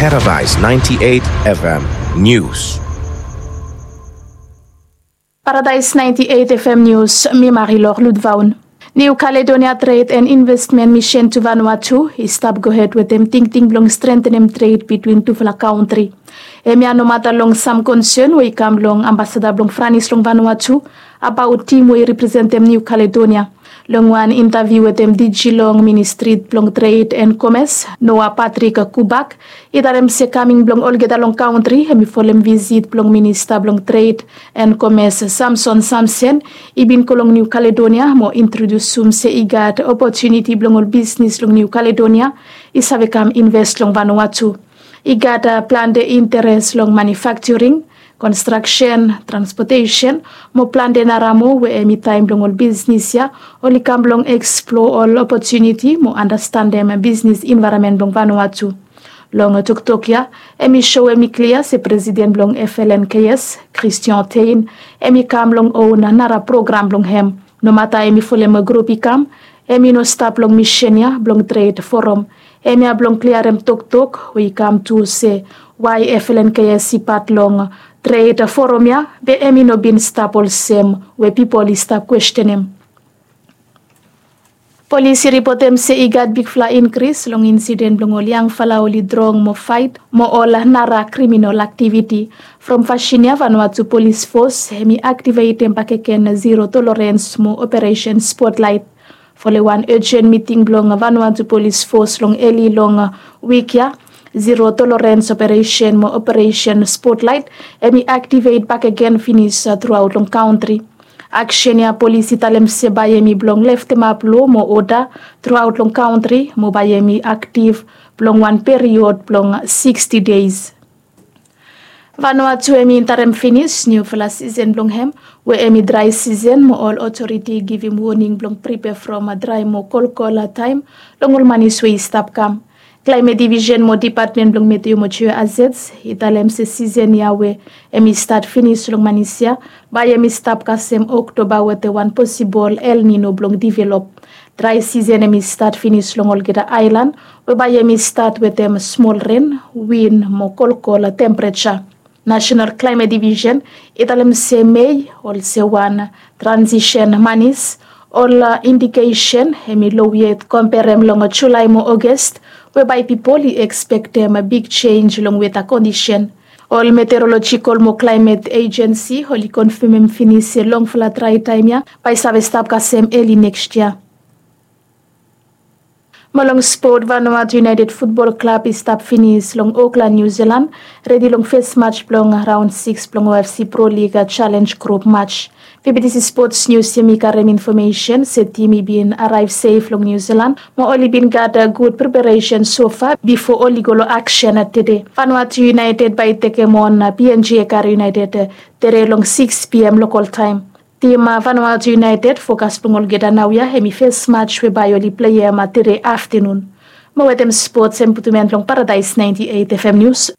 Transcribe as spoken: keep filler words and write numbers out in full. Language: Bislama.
Paradise ninety-eight F M News. Paradise ninety-eight F M News, mi Marilor Ludvaun. New Caledonia Trade and Investment Mission to Vanuatu i stap gohed wetem tingting blong strentenem tred bitwin tufala kantri. Hemia nomata long sam konsen we i kam long ambasada blong Franis long Vanuatu abaot tim we i representem New Caledonia. Long wan intaviu wetem D G long Ministri blong Tred and Komes, Noah Patrick Kubak, i talem se kaming blong olgeta long kantri hemi folem visit blong Minista blong Tred and Komes, Samson Samsen, i bin go long New Caledonia mo introdusum se i gat opotuniti blong ol bisnis long New Caledonia i save kam inves long Vanuatu. I gat plante interes long manufakturing, konstraksen, transpotesen mo plante nara moa we hemi taem blong ol bisnis ya oli kam blong eksploa ol opotuniti mo andastandem bisnis envaeronmen blong Vanuatu. Long toktok ya, hemi soem i klia se presiden blong F L N K S, Christian Thein, hemi kam long own nara program blong hem. Nomata hemi folem grup i kam, hemi no stap long misen ya blong tred forum. Hemia blong kliarem toktok we i kam tu se wae F L N K S i pat long tred forum ya be hemi no bin stap olsem we pipol i stap kwestenem. Polis i ripotem se i gat bigfala inkris long insiden blong ol yangfala oli drong mo faet mo ol nara kriminol aktiviti. From fasin ya Vanuatu Polis Fos hemi aktivetem bakegen zero tolerens mo Operesen Spotlaet. Folem wan ejen miting blong Vanuatu Polis Fos long eli long wik ya, zero tolerens operesen mo Operesen Spotlaet hemi aktivet bakegen finis truaot long kantri. Aksen ya polis i talem se bae hemi blong leftemap loa mo oda truaot long kantri mo bae hemi aktiv blong wan period blong siksti deis. Vanuatu hemi entarem finis niufala sisen blong hem we hemi drae sisen mo ol otoriti i givim woning blong pripea from drae mo kolkol taem long ol manis we i stap kam. Klaemet Divisen mo Dipatmen blong Meteo mo Jeo Azets i talem se sisen ya we hemi stat finis long manis ya bae hemi stap kasem Oktoba wetem wan posibol El Nino blong divelop. Drae sisen hemi stat finis long olgeta aelan we bae hemi stat wetem smol ren, win mo kolkol tempereja. Nasenal Klaemet Divisen i talem se Mei olsem wan transisen manis. Ol indikesen hemi low yet komperem long Julae mo Oges we bae pipol i ekspektem big jenj long weta kondisen. Ol Meteorolojikol mo Klaemet Ejensi oli konfamem finis se longfala drae taem ya bae i save stap kasem eli nekst yia. Mo long spot, Vanuatu United Futbol Klab i stap finis long Okland, Niu Silan, redi long fes maj blong raon sikis blong O F C Pro League Challenge Grup Maj. Fifty Sports News hemi karem infomesen se tim i bin araev sef long Niu Silan mo oli bin gat gud preparesen sofa bifo oli go long aksen tede. Vanuatu United bae i tekem on P N G Ekare United tede long sikis P M lokol taem. Tim Vanuatu United fokas blong olgeta naoia hemi fes maj we bae oli pleim tede aftenun. Mo wetem spots hemi putum en long Paradise ninety eight F M News.